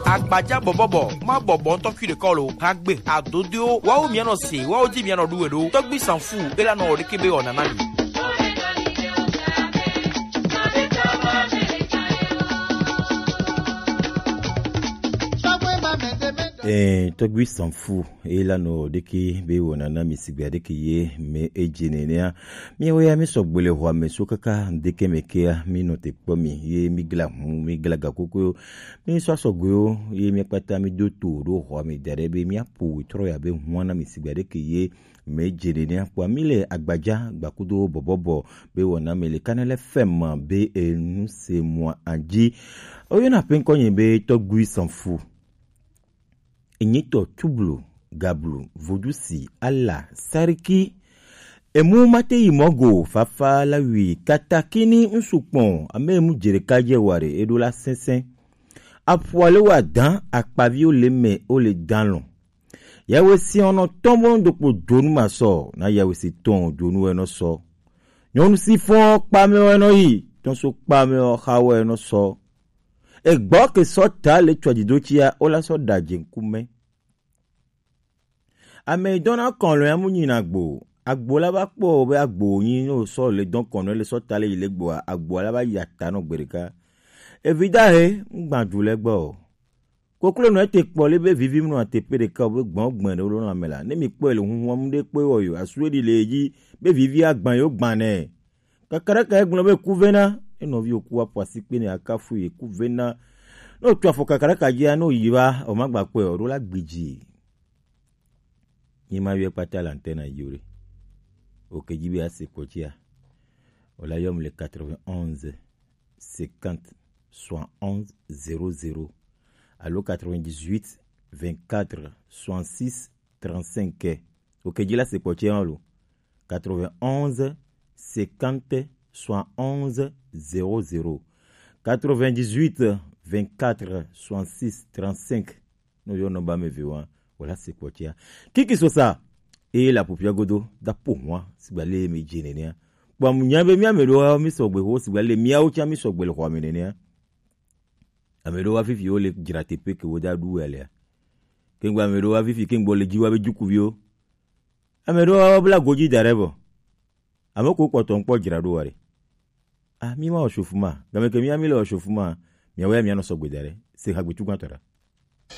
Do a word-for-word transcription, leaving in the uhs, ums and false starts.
Agbaja bɔbɔbɔ, ma bɔbɔ ŋutɔ kui ɖekɔ lo. Hagbe, adodoewo, wawo mianɔ se, wawo di mianɔ ɖu we ɖo. Tɔgbi Sanfu, ela nɔ ɖeke be wɔna na mi. Eh, Tɔgbi Sanfu, ela nɔ ɖeke be wɔna na mi sigbe ɖeke ye me edze nenea. Miawo ya mi sɔgbe le xɔa me so kaka ŋdeke me kea, mi nɔ te kpɔ mi, ye mi gla hu, mi gla gakoko, mi sɔ sɔgbewo, ye mi kpata mi do to ɖo xɔa me da ɖe be mi apo trɔ ya be hua na mi sigbe ɖeke ye me dze ɖe ne akpɔ mi le agbaja gbakudo bɔbɔbɔ be wɔna me le Kanɛlɛ F M be enu se mɔ anji. Oyɔna pe ŋkɔ nye be Tɔgbi Sanfu. Enyitɔ Tublu, Gablu, Vodusi, Ala, Sariki. Emu mate yi mɔgo, fafa la wi, katakini ŋsu kpɔn, ame emu dze ɖeka dze wa ɖe, eɖo la sɛnsɛn. Aƒua le wa dan, akpaviwo le me, wo le dan lɔ. Yawe si ɔnɔ tɔn bo ɖokpo dzonu ma sɔ, na yawe si tɔn dzonu wɛ nɔ sɔ. Nyɔnu si fɔn kpame wɛ nɔ yi, tɔn so kpame ɔ xa wɛ nɔ sɔ. Egbɔ ke sɔ ta le tsɔ dzido tsia, wo la sɔ da dze ŋkume. Ame yi dɔna kɔnlɔ ya mu nyina gbo. Agbo la va kpɔ be agbo nyi no sɔ le dɔn kɔnlɔ le sɔ ta le yi le gboa, agbo la va yi ata nɔ gbe ɖeka. Evi da he, ŋgba du le gbɔ o. Koklo nɔ ete kpɔ le be vivi mu nɔ ate pe ɖeka o be gbɔn gbɛn ɖe wo nɔ ame la. Ne mi kpɔ le huhun mu ɖe kpɔ wɔ yo, asu ɖi le yi be vivi agban yo gban nɛ. Kakaraka egblɔ be kuvena, enɔviwo ku aƒo asikpe ne akafu ye kuvena. Ne wotu afɔ kakaraka dzia, ne woyi va, womagba kpɔe o, ɖo la gbidzi. Nyi ma yɔe kpata la ŋtɛ na yi o ɖe. Oke dzi be ase kpɔ tsia. Wola yɔm le quatre-vingt-onze cinquante soixante-onze zéro zéro alo quatre-vingt-dix-huit vingt-quatre soixante-six trente-cinq. Oke dzi la se kpɔ tse hã lo. Quatre-vingt-onze cinquante soixante-onze zéro zéro. Quatre-vingt-dix-huit vingt-quatre soixante-six trente-cinq. No yɔ nɔmba me ve wa, wala se kpɔ tsia. Kiki sosa. Eye la pupia godo da po hwa sigba le me dze nenea. Kpɔ amu nya be mia me ɖo mi sɔgbe ho sigba le miawo tsa mi sɔgbe le xɔ me nenea. Ame ɖewo va fifi wo le dzra teƒe ke wo da ɖu ya lea. Kengbe ame ɖewo va fifi kengbe wo le dzi wa be jukuviwo. Ame ɖewo va bla godzi da ɖe vɔ. Ame ko kpɔtɔ ŋkpɔ dzra ɖo wa ɖe. Ah, mi ma wɔ shofu ma. Game ke mi mi le wɔ shofu ma. Miawo ya mianɔ sɔgbe da ɖe. Se hagbe tu gbãtɔ ɖa.